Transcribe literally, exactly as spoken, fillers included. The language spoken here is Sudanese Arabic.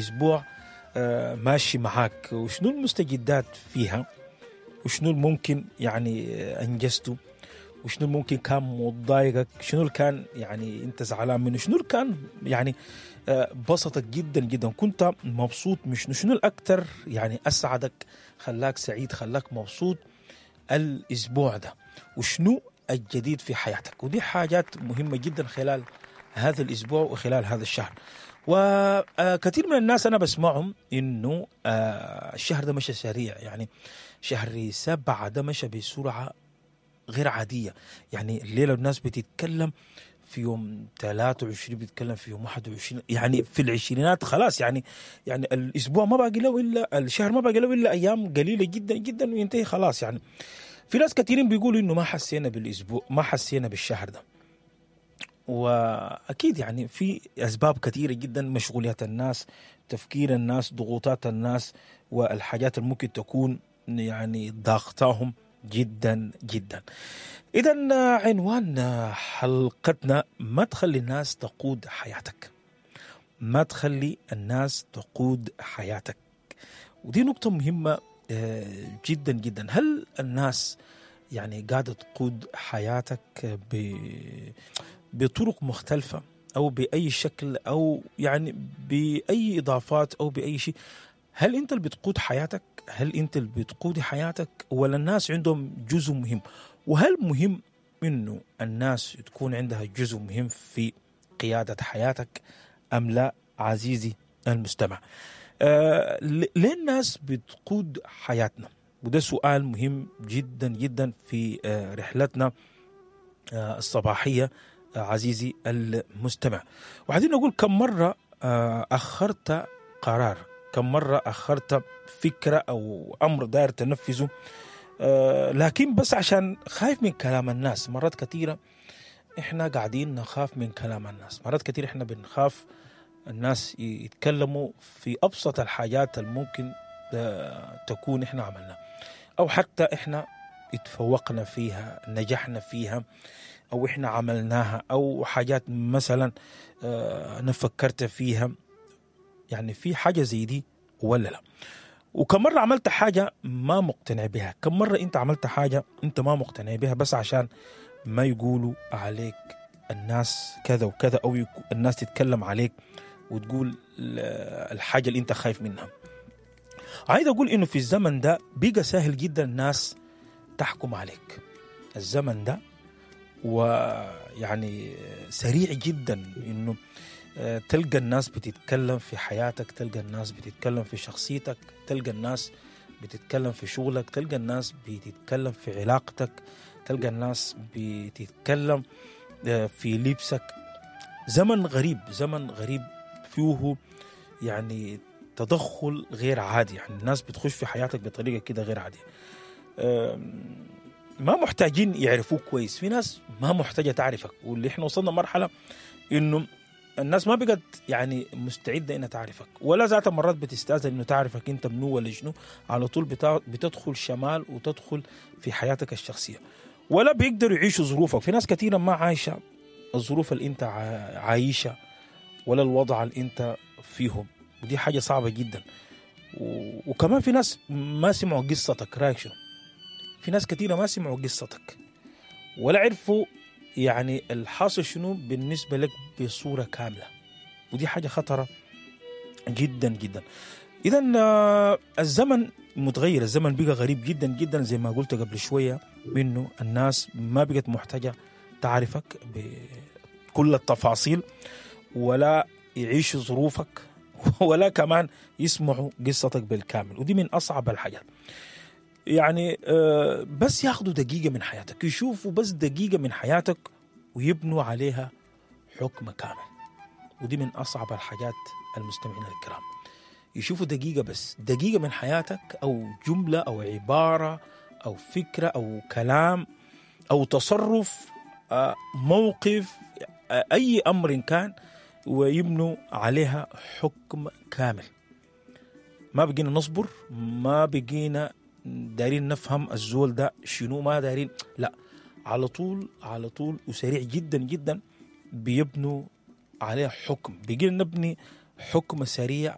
الاسبوع آه، ماشي معاك، وشنو المستجدات فيها، وشنو الممكن يعني آه، انجزته، وشنو الممكن كان مضايقك، شنو اللي كان يعني انت زعلان منه، شنو اللي كان يعني آه، بسطك جدا جدا، كنت مبسوط من شنو، شنو الاكثر يعني اسعدك، خلاك سعيد، خلاك مبسوط الاسبوع ده، وشنو الجديد في حياتك. ودي حاجات مهمة جدا خلال هذا الاسبوع وخلال هذا الشهر. وكثير من الناس انا بسمعهم انه آه، الشهر ده مشى سريع، يعني شهر سبعة ده مشى بسرعة غير عادية. يعني الليلة الناس بتتكلم في يوم ثلاثة وعشرين، بتتكلم في يوم واحد وعشرين، يعني في العشرينات خلاص، يعني يعني الاسبوع ما باقي له الا الشهر، ما باقي له الا ايام قليله جدا جدا وينتهي خلاص. يعني في ناس كثيرين بيقولوا انه ما حسينا بالاسبوع، ما حسينا بالشهر ده. واكيد يعني في اسباب كثيرة جدا، مشغوليات الناس، تفكير الناس، ضغوطات الناس، والحاجات اللي ممكن تكون يعني ضاغطاهم جدا جدا. اذا عنوان حلقتنا: ما تخلي الناس تقود حياتك. ما تخلي الناس تقود حياتك. ودي نقطة مهمة آه، جدا جدا. هل الناس يعني قاعدة تقود حياتك ب بطرق مختلفة أو بأي شكل أو يعني بأي إضافات أو بأي شيء؟ هل أنت اللي بتقود حياتك؟ هل أنت اللي بتقودي حياتك ولا الناس عندهم جزء مهم؟ وهل مهم إنه الناس تكون عندها جزء مهم في قيادة حياتك أم لا عزيزي المستمع؟ آه ليه الناس بتقود حياتنا؟ وده سؤال مهم جدا جدا في آه رحلتنا آه الصباحية آه عزيزي المستمع. وعايزين نقول كم مرة آه أخرت قرار، كم مرة أخرت فكرة أو أمر داير تنفذه، آه لكن بس عشان خايف من كلام الناس. مرات كثيرة إحنا قاعدين نخاف من كلام الناس، مرات كثيرة إحنا بنخاف الناس يتكلموا في أبسط الحاجات الممكن تكون إحنا عملناها، أو حتى إحنا اتفوقنا فيها، نجحنا فيها، أو إحنا عملناها، أو حاجات مثلا أنا فكرت فيها. يعني في حاجة زي دي ولا لا؟ وكم مرة عملت حاجة ما مقتنع بها؟ كم مرة أنت عملت حاجة أنت ما مقتنع بها بس عشان ما يقولوا عليك الناس كذا وكذا، أو الناس تتكلم عليك وتقول الحاجة اللي أنت خايف منها؟ عايز أقول إنه في الزمن ده بقى سهل جدا الناس تحكم عليك. الزمن ده ويعني سريع جدا إنه تلقى الناس بتتكلم في حياتك، تلقى الناس بتتكلم في شخصيتك، تلقى الناس بتتكلم في شغلك، تلقى الناس بتتكلم في علاقتك، تلقى الناس بتتكلم في لبسك. زمن غريب، زمن غريب فيه يعني تدخل غير عادي، يعني الناس بتخش في حياتك بطريقة كده غير عادية. ما محتاجين يعرفوك كويس، في ناس ما محتاجة تعرفك، واللي احنا وصلنا مرحلة انه الناس ما بقت يعني مستعدة انها تعرفك، ولا ذات مرات بتستأذن انه تعرفك انت منو ولا شنو، على طول بتدخل شمال وتدخل في حياتك الشخصية، ولا بيقدروا يعيشوا ظروفك. في ناس كثيرة ما عايشة الظروف اللي انت عايشة ولا الوضع اللي انت فيهم، ودي حاجة صعبة جدا. وكمان في ناس ما سمعوا قصتك، رايك شنو؟ في ناس كثيرة ما سمعوا قصتك ولا عرفوا يعني الحاصل شنو بالنسبة لك بصورة كاملة، ودي حاجة خطرة جدا جدا. إذن الزمن متغير، الزمن بقى غريب جدا جدا زي ما قلت قبل شوية، إنه الناس ما بقت محتاجة تعرفك بكل التفاصيل، ولا يعيشوا ظروفك، ولا كمان يسمعوا قصتك بالكامل، ودي من أصعب الحاجات. يعني بس ياخدوا دقيقة من حياتك، يشوفوا بس دقيقة من حياتك ويبنوا عليها حكم كامل، ودي من أصعب الحاجات المستمعين الكرام. يشوفوا دقيقة بس، دقيقة من حياتك، أو جملة أو عبارة أو فكرة أو كلام أو تصرف، موقف، أي أمر كان، ويبنوا عليها حكم كامل. ما بقينا نصبر، ما بقينا دارين نفهم الزول ده شنو، ما دارين، لا، على طول على طول وسريع جدا جدا بيبنوا عليه حكم. بقينا نبني حكم سريع